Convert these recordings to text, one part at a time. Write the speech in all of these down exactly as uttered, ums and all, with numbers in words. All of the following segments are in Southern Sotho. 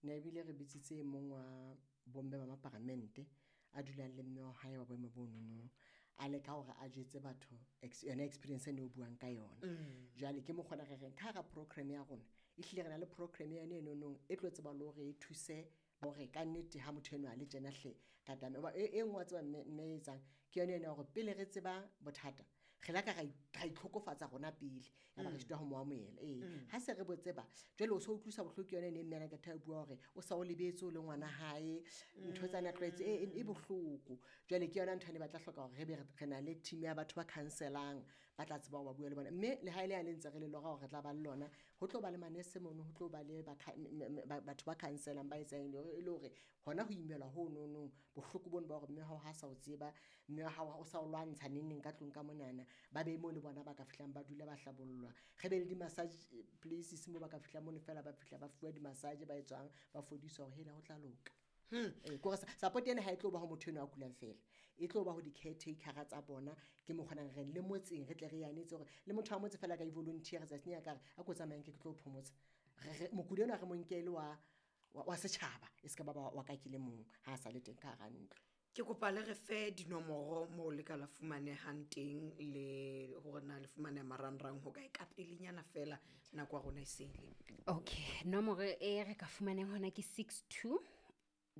Ne ebile re bitsitse e mong wa bomme ba maparamente a dulang le mme wa hae wa boemo bo nono, a leka hore a jwetse batho ex- yona experience ene o buang ka yona. Jwale ke mokgona re reng ka hara program ya rona, ehlile re na le program yane e nonong e tlo tseba le hore e thuse hore kannete ha motho enwa a le tjena hle ka tame. Hoba e e nngwe wa tseba mme mme e etsang ke yona ena ya hore pele re tseba bothata, re la ka ra ra itlhokofatsa rona pele, ya ba re sitwa ho mo amohela. Ee, ha se re bo tseba jwale o so utlwisa bohloko ke yona ene e mme ana a bua hore o sa o lebetse o le ngwana hae, ntho tsa na tlwaetse e e bohloko. Jwale ke yona ntho ene ba tla hloka hore re be re na le team ya batho ba counselang, ba tla tseba hore ba bua le bona. Mme le ha ele yane ntse re le lora hore re tla ba le lona, ho tlo ba le manese mono, ho tlo ba le batho ba counselang ba etsang e le hore hona ho imelwa ho nonong, bohloko bono ba hore mme wa hao ha sa o tseba, mme wa hao o sa o lwantsha neng neng ka tlung ka monana, ba be moo le bona ba ka fihlang ba dula ba hlabollwa. Re be le di-massage places moo ba ka fihlang mono feela, ba fihla ba fuwa di-massage, ba etswang, ba fodiswa hore hela ho tla loka. Ee, ke hore support ena ha e tlo ba ho motho enwa a kulang feela, e tlo ba ho di-caretakera tsa bona. Ke mo kgonang re le motseng re tle re yanetse hore le motho wa motse feela a ka i-volunteer tsatsing a ka re a ko tsamayeng ke tlo phomotsa. Re re mokudi enwa re mo nke e le wa wa setjhaba, e se ka ba wa ka ke le mong ha a sa le teng ka hara ntlo. Ke kopa le re fe dinomoro moo le ka la fumanehang teng le hore na le fumaneha marangrang ho kae, ka pelenyana feela nako ya rona e se ile. Okay, nomoro e re ka fumaneng hona ke six two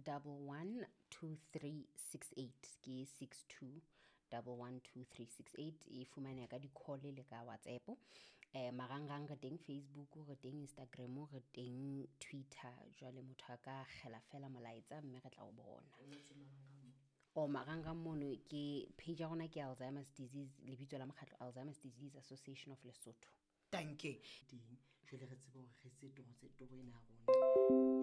double one two three six eight. Ke six two double one two three six eight. E fumaneha ka di-call le ka WhatsApp. Eh, marangrang re teng Facebook, re teng Instagram, re teng Twitter. Jwale motho a ka kgela fela molaetsa mme re tla o bona. O marangrang mono ke page ya rona ke Alzheimer's Disease, lebitso la mokgatlo Alzheimer's Disease Association of Lesotho. Dankie. Teng jwale re tsebe hore re etse toro tse toro ena ya rona